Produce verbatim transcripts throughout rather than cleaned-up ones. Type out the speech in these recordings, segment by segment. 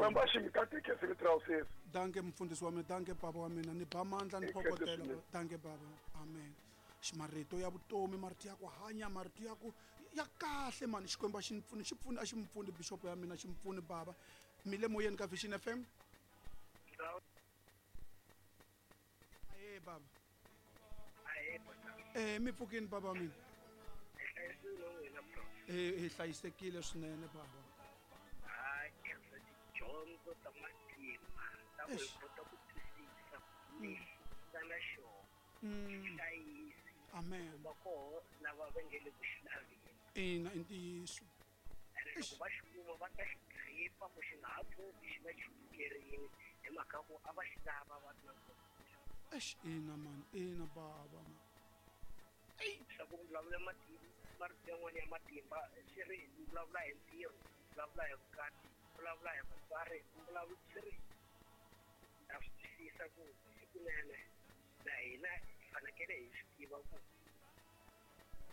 Xikwembu a xi mi katekisi vito ra usesi. Danke mfundhisi wa mina, danke baba wa mina, ni ba mandla ni Hi khensa phokotela. swinene. Danke baba. Amen. Marito ya vutomi, marito ya ku hanya, marito ya ku ya kahle mani. Xikwembu a xi ni pfuni, xi pfuni a xi mi pfuni bishop ya mina, xi mi pfuni baba. Mi le moyeni ka Vision F M? Ahe baba. Ahe baba. Eh mi pfukini baba mina. Eh hi hlayisekile swinene baba. Hayi khensa tidyondzo ta matimba ta ku hi kota ku twisisa lexi nga na xona. Hlayisi. Amen. Va koho lava va nge le ku xi laveni. Ina i ntiyiso. Ene loko va xi kuma va ta xi gripa ku xi nga ha pfuki xi va chukerini hi mhaka ku a va xi lava va ri na nkoka. Eish ina man, ina baba man. Swa ku vulavula matimba, marito yan'wana ya matimba swi ri vulavula hi ntirho, vulavula hi vukati, vulavula hi vatswari, vulavula swi ri ta swi twisisa ku hikunene na hina hi fanekele hi swi tiva ku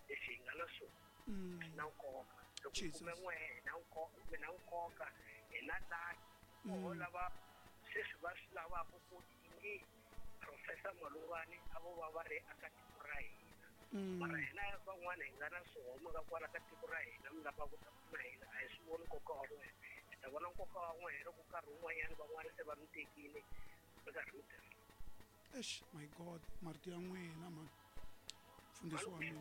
leswi hi nga na swona swi na nkoka. Loko hi kume n'we hi na nkoka, hi na nkoka, hi na laki koho lava sweswi va swi lavaka ku ingi Professor Malungwani a vo va va ri aka tiko ra hina. Mara hina van'wana hi nga na swihoma ka kwala ka tiko ra hina mi lava ku ta pfuna hina a hi swi voni nkoka wa n'wina. Hi ta vona nkoka wa n'wina loko nkarhi wun'wanyana van'wana se va mi tekile mi karhi mi tirha. Eish my God, marito ya n'wina man. Mfundhisi wa mina.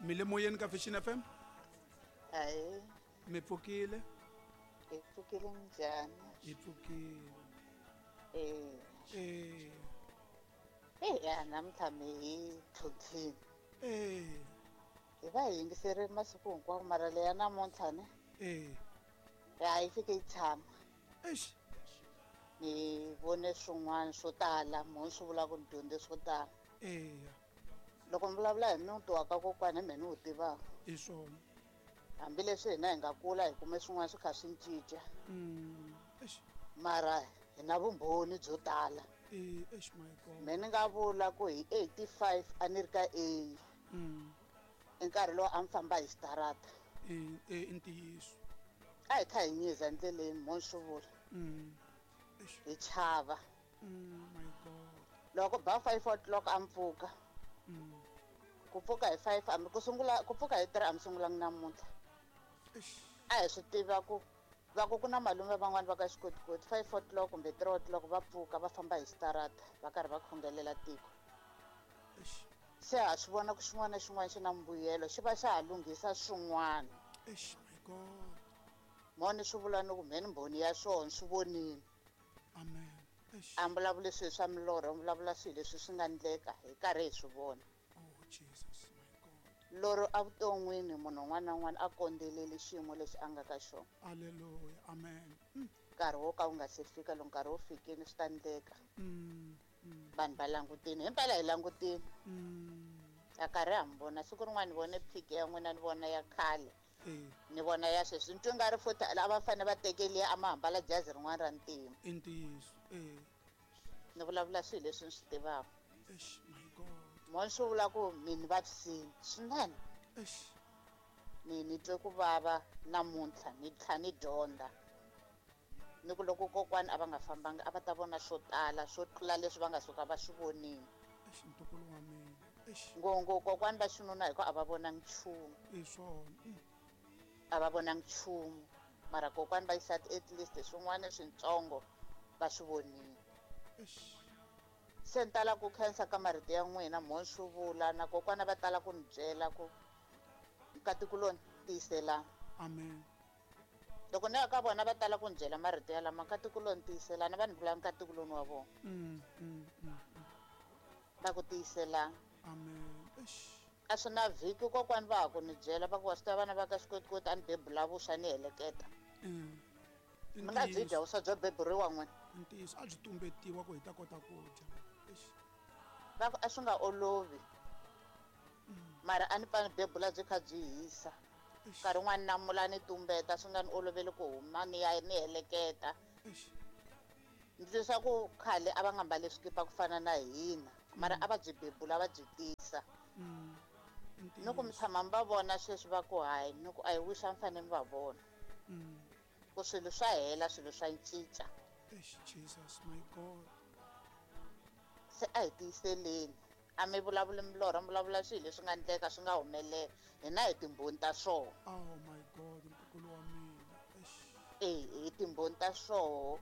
Mi le moyeni ka Vision F M? Ahe. Mi pfukile? Hi pfukile njhani? Hi pfukile. Eh. Eh. Eh ya namuntlha mi hi tlhontlhini. Eh. Hi va hi yingiserile masiku hinkwawo mara leya namuntlha ne? Eh. Ya yi fike yi tshama. Eish. Ni vone swin'wana swo tala, munhu swi vula ku ni dyondze swo tala. Eh. Loko mi vulavula hi muti wa ka kokwana hi mehe ni wu tivaka. I swona. Hambileswi hina hi nga kula hi kume swin'wana swi kha swi cinca. Mm. Eish. Mara hi na vumbhoni byo tala. Eh, eish my God. Mehe ni nga vula ku hi eighty-five a ni ri ka A. Mm. I nkarhi lowu a mi famba hi xitarata. Eh, eh i ntiyiso. A hi kha hi nyiza endleleni mo swi vula. Mm. Eish. Hi chava. Mm, my God. Loko ba five o'clock a mi pfuka. Mm. Ku pfuka hi five a mi ku sungula ku pfuka hi three a mi sungulangi namuntlha. Eish. A hi swi tiva ku va ku ku na malume van'wani va ka xikotikoti five o'clock kumbe three o'clock va pfuka va famba hi xitarata va karhi va khongelela tiko. Eish. Se ha swi vona ku xin'wana na xin'wana xi na mbuyelo xi va xa ha lunghisa swin'wana. Eish my God. Moni swi vula ni ku mhe ni mbhoni ya swona swi vonile. Amen. Eish. A vulavuli swilo swa milorho, a vulavula swilo leswi swi nga endleka hi karhi hi swi vona. Oh Jesus my God. Loro evuton'wini munhu un'wana na un'wana a kondzeleli xiyimo lexi a nga ka xona. Hallelujah. Amen. Mm. Nkarhi wo ka wu nga se fika loko nkarhi wu fikile swi ta endleka. Mm. Mm. Vanhu va langutini, himpela hi langutini. Mm. A karhi ha mi vona siku rin'wana ni vone phiki ya n'wina ni vona ya khale. Eh. Ni vona ya sweswi ni twe nga ri futhi a va fanele va tekeliya a ma hambala jazi rin'wana ra ntima. I ntiyiso. Eh. Ni vulavula swilo leswi ni swi tivaka. Eish my God. Mo swi vula ku mi ni vavisile swinene. Eish. Ni ni twe ku vava namuntlha ni tlhela ni dyondza. Ni ku loko kokwana a va nga fambanga a va ta vona swo tala swo tlula leswi va nga suka va swi vonile. Eish ntukulu wa mina. Eish. Ngopfungopfu kokwana va xinuna hi ku a va vonangi nchumu. I swona. Mm. A va vonangi nchumu mara kokwana va xisati at least swin'wana swintsongo va swi vonile. Eish. Se ni tala ku khensa ka marito ya n'wina mo swi vula na kokwana va tala ku ni byela ku nkatikuloni tiyiselani. Amen. Loko ni ya ka vona va tala ku ni byela marito ya lama nkatikuloni tiyiselani va ni vula nkatikuloni wa vona. Mm, mm, mm. Va ku tiyiselani. Amen. Eish. A swi na vhiki kokwani va ha ku ni byela va ku wa swi tiva vana va ka xikotikoti a ni bebula vuswa ni heleketa. Mm. Mi nga byi dya vuswa byo beburiwa n'wina. Ntiyiso a byi tumbetiwa ku hi ta kota ku dya. Eish. Va ku a swi nga olovi. Mara a ni pfa ni bebula byi kha byi hisa. Nkarhi wun'wani namula ni tumbeta swi nga ni oloveli ku huma ni ya ni heleketa. Eish. Ni twisisa ku khale a va nga mbali swikipa ku fana na hina. Mara a va byi bebula va byi tisa. Ni ku mi tshama mi va vona sweswi va ku hayi, ni ku a hi wish a mi fanele mi va vona. Ku swilo swa hela, swilo swa cinca. Eish, Jesus my God. Se a hi tiyiseleni. A mi vulavuli milorho, mi vulavula swilo leswi nga endleka swi nga humelela. Hina hi timbhoni ta swona. Oh my God, ntukulu wa mina. Eish. Eh, hi timbhoni ta swona.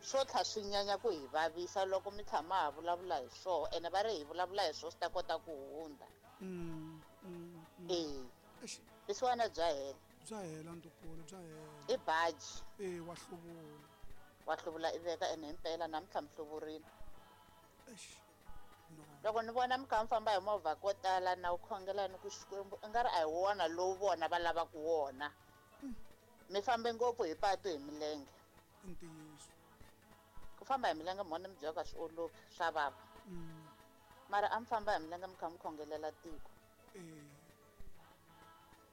Swo tlha swi nyanya ku hi vavisa loko mi tshama ha vulavula hi swona, ene va ri hi vulavula hi swona swi ta kota ku hundza. Mm, mm, mm. Eh. Eish. Leswiwani bya hela. Bya hela ntukulu, bya hela. I baji. Eh, wa hluvula. Wa hluvula i veka ene himpela namuntlha mi hluvurile. Eish. No. Loko ni vona mi kha mi famba hi movha ko tala na u khongela ni ku Xikwembu i nga ri a hi wona lowu vona va lavaka wona. Mi fambe ngopfu hi patu hi milenge. I ntiyiso. Ku famba hi milenge mhona mi byela ka swi olovi swa vava. Mm. Mara a mi famba hi milenge mi kha mi khongelela tiko. Eh.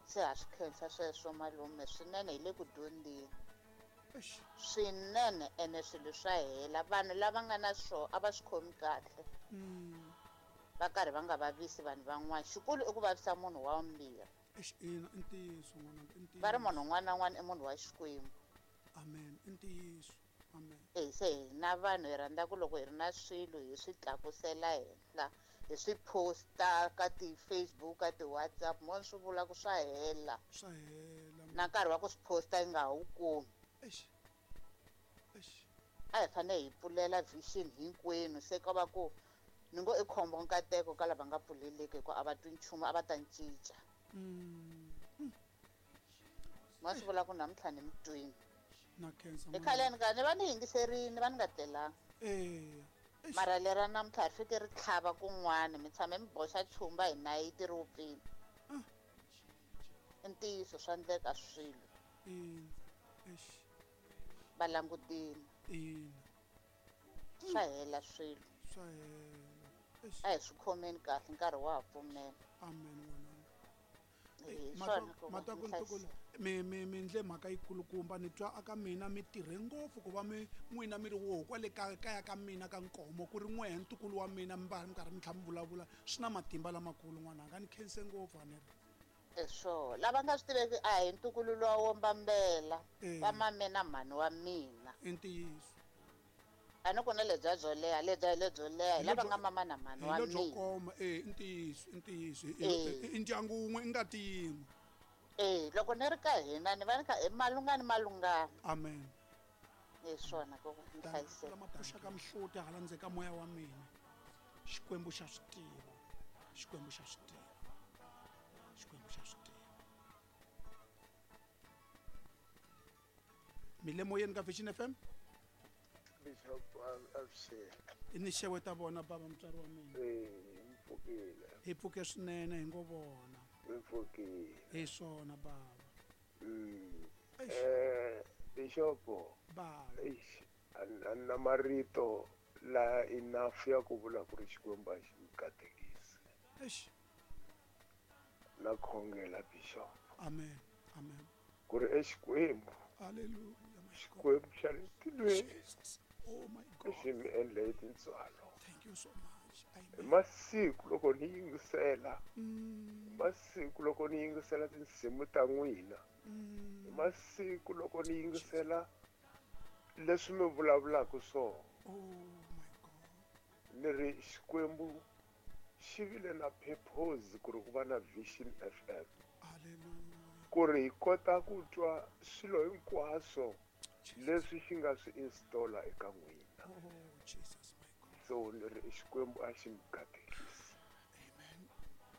Se ha swi khensa sweswo malume swinene hi le ku dyondzeni. Eish. Swinene ene swilo swa hela. Vanhu lava nga na swona a va swi khomi kahle. Mm. Va karhi va nga vavisi vanhu van'wana. Xikulu i ku vavisa munhu wa vumbirhi. Eish, ina, i ntiyiso n'wananga, i ntiyiso. Va ri munhu un'wana na un'wana i munhu wa Xikwembu. Amen, i ntiyiso. Amen. Eh, se hina vanhu hi rhandza ku loko hi ri na swilo hi swi tlakusela henhla, hi swi posta ka ti-Facebook, ka ti-WhatsApp, mo swi vula ku swa hela. Swa hela. Na nkarhi wa ku swi posta yi nga ha wu kumi. Eish. Eish. A hi fanele hi pfulela vision hinkwenu, se ka va ku ni ngo i khombo nkateko ka lava nga pfuleleki hikuva a va twi nchumu, a va ta cinca. Mm. Ma swi vula ku namuntlha ni mi twini. Na khensa. I khaleni ka ni va ni yingiserini, va ni nga tlelanga. Eh. Mara lera namuntlha ri fike ri tlhava kun'wana, mi tshame mi boxa chumba hi nayiti ri wupfile. I ntiyiso swa endleka swilo. Ina. Eish. Va langutile. Ina. Swa hela swilo. Swa hela. Eish. A hi swi khomeni kahle nkarhi wa ha pfumela. Amen n'wananga. Eh, Mata- swona ku va mata ku mi hlayisa. ntukulu, mi, mi, mi ndle mhaka yikulukumba ni twa aka mina mi tirhe ngopfu ku va mi n'wina mi ri woho kwale ka kaya ka mina ka Nkomo ku ri n'wehe ntukulu wa mina mi va mi karhi mi tlhela mi vulavula swi na matimba lamakulu n'wananga ni khense ngopfu a ni ri. Eh, swo lava nga swi tiveki a hi ntukulu luwa wo mbambela Eh. va mame na mhani wa mina. I ntiyiso. A ni ku na lebya byo leha, lebya lebyo leha, hi Hi lava lebyo nga mama na mhani hi wa lebyo mina. koma, eh, i ntiyiso, i ntiyiso. I, Eh. i, i ndyangu wun'we i ngati yin'we. Eh, loko ni ri ka hina ni va ni kha i malungani malungani. Amen. Hi swona ku ni Tani, hlayiseka. lama pfuxaka mihloti hala ndzeni ka moya wa mina. Xikwembu xa swi tiva. Xikwembu xa swi tiva. Xikwembu xa swi tiva. Mi le moyeni ka Vision F M? Bishop Avuxeni. I ni xeweta vona bava mutswari wa mina. Eh, mi pfukile. Hi pfuke swinene hi ngo vona. Mi pfukile. Hi swona bava. Mm. Eish. Eh, Bishop. Bava. Eish, a ni na marito la enough ya ku vula ku ri Xikwembu a xi mi katekisi. Eish. Na khongela Bishop. Amen. Amen. Ku ri eXikwembu. Hallelujah. My God. Xikwembu xa le tilweni. Jesus. Oh my God. Xi mi endle hi tintswalo. Thank you so much. Amen. Hi masiku loko ni yingisela. Mm. Hi masiku loko ni yingisela tinsimu ta n'wina. Mm. Hi masiku loko ni yingisela leswi mi vulavulaka swona. Oh my God. Ni ri Xikwembu xi vile na purpose ku ri ku va na Vision F M. Hallelujah. Ku ri hi kota ku twa swilo hinkwaswo Jesus. leswi xi nga swi installa eka n'wina. Oh Jesus my God. So ni ri Xikwembu a xi mi katekisi. Amen.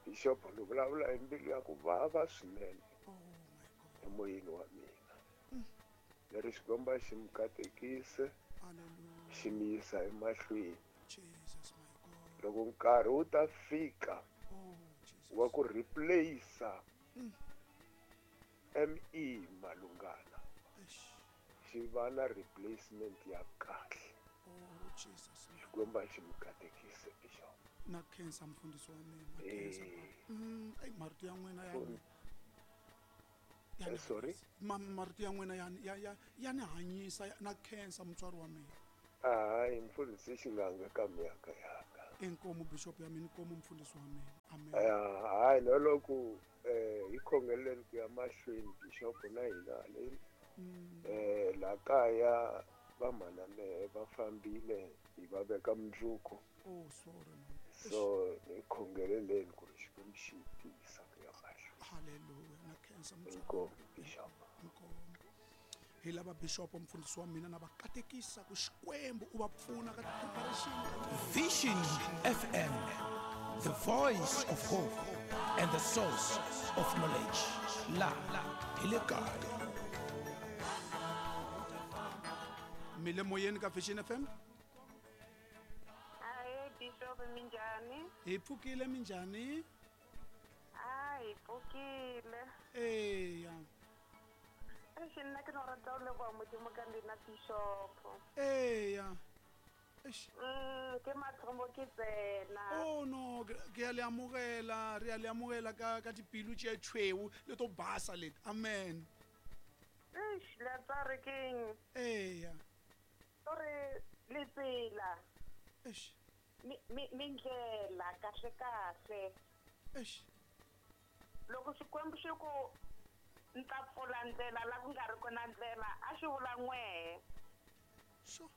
Bishop ni vulavula hi mbilu ya ku vava swinene. Oh my God. Emoyeni wa mina. Ni ri Xikwembu a xi mi katekise. Hallelujah. Xi mi yisa emahlweni. Jesus my God. Loko nkarhi wu ta fika Oh Jesus. wa ku replace Mm. M E Malungana. Eish. Xi va na replacement ya kahle. Oh Jesus. Xikwembu a xi mi katekise Bishop. Na khensa mfundhisi wa mina, na khensa. Eh. Mm, ai marito ya n'wina ya So, ni ya Eh, ni sorry? hanyisa. Ma, marito ya n'wina ya ya ya ya ni hanyisa, ya, na khensa mutswari wa mina. Hayi mfundhisi xinganga ka miyaka yaka. Inkomu bishop ya mina, inkomu mfundisi wa mina. Amen. Hayi no loko eh hi khongeleni ku ya mahlweni bishop na hina le eh la kaya va mana mehe va fambile hi va veka mundzuku. Oh sorry man. So hi khongeleleni ku ri Xikwembu xi tiyisa ku ya mahlweni. Hallelujah. Na khensa inkomu bishop. Inkomu. Hi lava bishop mfundisi wa mina na va katekisa ku Xikwembu u va pfuna ka preparation. Vision F M, the voice of hope and the source of knowledge. La hi le kaya. Mi le moyeni ka Vision F M? Hayi bishop minjhani? Hi pfukile minjhani? A hi pfukile. Eya. Eish nna ke no rata ho leboha Modimo ka lena bishop. Eya. Eish. Mm, ke mathomo ke tsena. Oh no, ke a le amogela, re a le amogela ka ka dipilu tše tšhweu le to basa leti. Amen. Eish, la tsa re keng? Eya. Ore le tsela. Eish. Mi mi mindlela kahle kahle. Eish. Loko Xikwembu xi ku nta pfula ndlela la ku nga ri kona ndlela a xi vula n'wehe. Sure.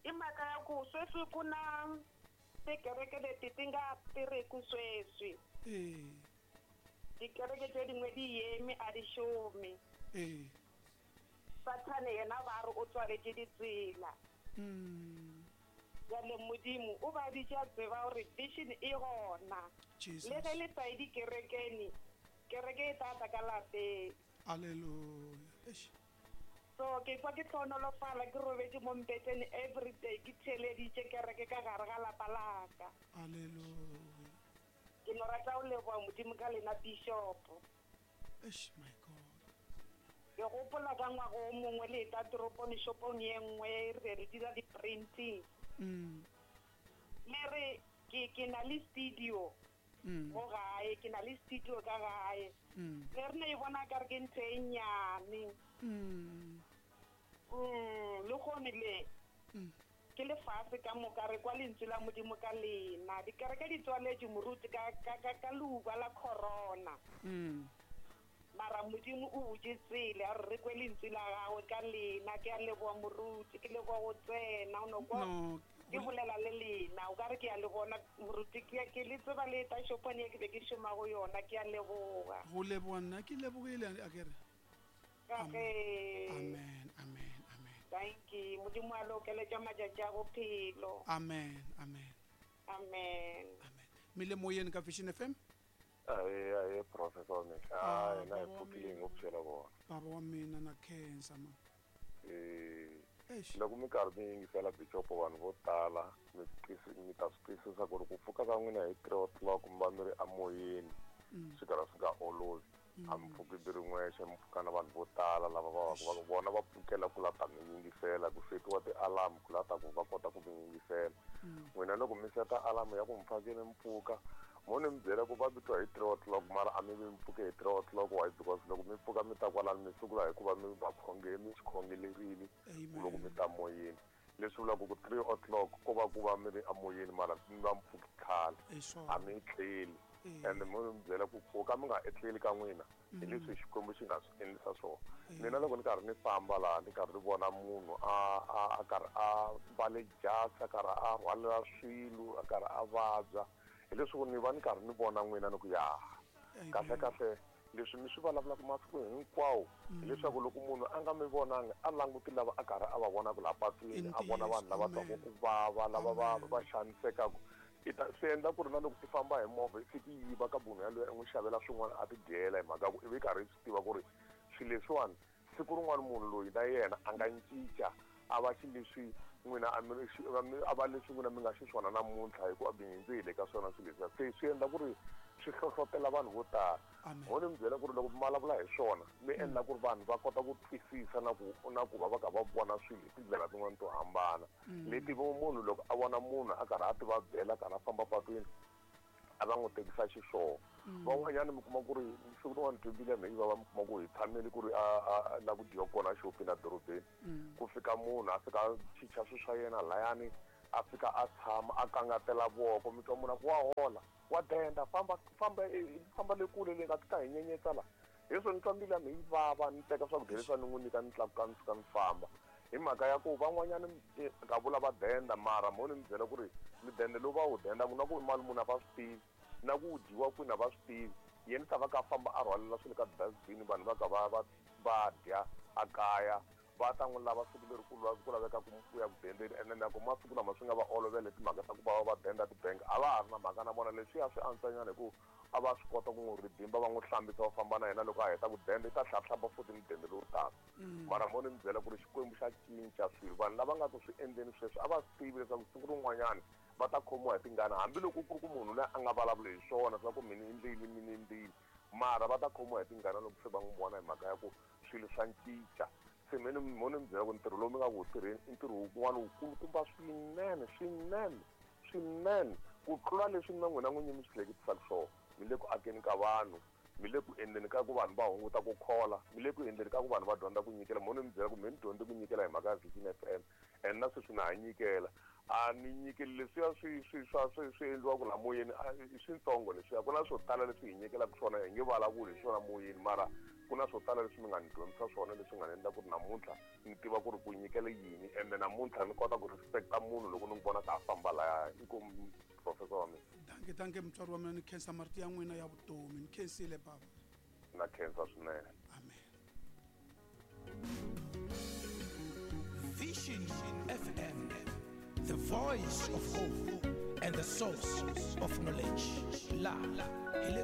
I mhaka ya ku sweswi ku na tikereke leti ti nga tirhiki sweswi. Eh. Tikereke tse dingwe di yeme a di šome. Eh. Sathane yena ba re o tswaletše ditsela. Mm. Jwale Modimo o ba bitša tseba hore vision e gona. Jesus. Le ge le sa ye dikerekeng, kereke e tla tla ka lapeng. Hallelujah. Eish. So ke kwa ke hlohonolofala ke robetše mo mpeteng every day ke theeleditše kereke ka gare ga lapa la ka. Hallelujah. Ke no rata ho leboha Modimo ka lena bishop. Eish my God. Ke gopola ka ngwaga o mongwe le eta toropong shopong ye nngwe re re dira di-printing. Mm. Le re ke ke na le studio. Mm. Mo gae ke na le studio ka gae. Mm. Le re ne e bona ka re ke ntho e nnyane. Mm. Mm, le gone le. Mm. Ke lefatshe ka moka re kwa lentswe la Modimo ka lena. Dikereke di tswaletše moruti ka ka ka ka leuba la corona. Mm. Mara Modimo o butše tsela a re re kwe lentswe la gagwe ka lena. Ke a leboha moruti, ke leboha go tsena o no kwa. No. Ke bolela le lena o ka re ke a le bona moruti ke ke le tseba le eta shopong ye ke be ke šoma go yona. Ke a leboha. Go leboha nna ke lebogile a ke re. Ka ge. Amen, amen, amen. Thank you. Modimo a le okeletša matšatši a bophelo. Amen, amen. Amen. Amen. Mi le moyeni ka Vision F M? Aye, aye, professor Mehla. Ah, Hayi, na baba wa pfukile mina. ngopfu la vona. Baba wa mina na khensa man. Eh, Eish. loko mi karhi mi yingisela bishop vanhu vo tala mi mi ta swi twisisa ku ri ku pfuka ka n'wina hi three o'clock mi va mi ri emoyeni Mm. swi karhi swi nga olovi. A mi pfuki mi ri n'wexe mi pfuka na vanhu vo tala lava va va vona va pfukela ku la ta mi yingisela ku setiwa ti-alarm ku la ta ku va kota ku mi yingisela. N'wina loko mi seta alarm ya ku mi fanekele mi pfuka mo ni mi byela ku va mi twa hi three o'clock mara a mi vi mi pfuke hi three o'clock why because loko mi pfuka mi ta kwalano mi sungula hikuva mi va khonge mi swi khongelerile loko mi ta moyeni. Leswi vulaka ku three o'clock ko va ku va mi ri emoyeni mara mi va mi pfuki khale a mi etleli. And mo mi byela ku pfuka mi nga etleli ka n'wina hi leswi Xikwembu xi nga swi endlisa swona. Mina loko ni karhi ni famba laha ni karhi ni vona munhu a a a karhi a mbale jasi a karhi a rhwalela swilo a karhi a vabya hi leswi ni va ni karhi ni vona n'wina ni ku ya kahle kahle leswi mi swi vulavulaka masiku hinkwawo hileswaku loko munhu a nga mi vonangi a languti lava a karhi a va vonaka laha patwini a vona vanhu lava twaka ku vava lava va va xanisekaka i ta swi endla ku ri na loko i famba hi movha i fiki yi yiva ka munhu yaloye i n'wi xavela swin'wana a ti dyela hi mhaka ku i vi karhi i swi tiva ku ri swilo leswiwani siku rin'wana munhu loyi na yena a nga cinca a va xileswi n'wina a mi a va leswi n'wina mi nga xiswona namuntlha hikuva mi hundze hi le ka swona swilo leswiya. Se swi endla ku ri swi hlohlotela vanhu vo tala. Mo ni mi byela ku ri loko mi vulavula hi swona mi endla ku ri vanhu va kota ku twisisa na ku na ku va va kha va vona swilo hi tindlela tin'wana to hambana leti munhu loko a vona munhu a karhi a ti vabyela a karhi a famba patwini a va n'wi tekisa xiswona. Van'wanyana mi kuma ku ri siku rin'wana twibile mi va va mi kuma ku hi tshamele ku ri a a la ku dyiwa kona xopeni a dorobeni ku fika munhu a fika a chicha swilo swa yena layani A fika a tshama a kangatela voko mi twa munhu a ku wa hola wa denda famba famba famba le kule le nga ti ta hi nyenyetsa la hi swo ni twa mbilu ya mina yi vava ni teka swakudya leswi ni n'wi nyika ni tlakuka ni fika ni famba hi mhaka ya ku van'wanyana ka vula va denda mara mo ni mi byela ku ri midende lowu va wu dendaka na ku i mali muni a va swi tivi na ku wu dyiwa kwini a va swi tivi yena ta va ka famba a rhwalela swilo ka dustbin vanhu va ka va va va dya a kaya va ta n'wi lava siku leri ku ku laveka ku ku ya ku dendeni ene na ku masiku lama swi nga va olovele timhaka ta ku va va denda tibank a va ha ri na mhaka na vona leswiya swi antswanyana hi ku a va swi kota ku n'wi ridimba va n'wi hlambisa va famba na yena loko a heta ku denda i ta hlahlamba futhi mudende lowu taka mara mo ni mi byela ku ri Xikwembu xa cinca swilo vanhu lava nga ku swi endleni sweswi a va swi tivi leswaku siku rin'wanyana va ta khomiwa hi tingana hambiloko ku ri ku munhu loyi a nga vulavuli hi swona swa ku mina endlile mina endlile mara va ta khomiwa hi tingana loko se va n'wi vona hi mhaka ya ku swilo swa cinca se mina mo ni mi byela ku ntirho lowu mi nga ku wu tirheni i ntirho wun'wana wukulukumba swinene swinene swinene ku tlula leswi na n'wina n'winyi mi swi hleketisaka swona mi le ku akeni ka vanhu mi le ku endleni ka ku vanhu va hunguta ku khola mi le ku endleni ka ku vanhu va dyondza ku nyikela mo ni mi byela ku mi ni dyondze ku nyikela hi mhaka ya Vision F M and na sweswi na ha nyikela a ni nyikeli leswiya swi swi swa swi swi endliwaka la moyeni i switsongo leswiya ku na swo tala leswi hi nyikelaka swona hi nge vulavuli hi swona moyeni mara ku na swo tala leswi mi nga ni dyondzisa swona leswi nga ni endla ku ri namuntlha ni tiva ku ri ku nyikela yini ende namuntlha ni kota ku respecta munhu loko ni n'wi vona ka a famba laya inkomu professor wa mina danke danke mutswari wa mina ni khensa marito ya n'wina ya vutomi ni khensile baba na khensa swinene amen. Vision F M, the voice of hope and the source of knowledge. La, hi le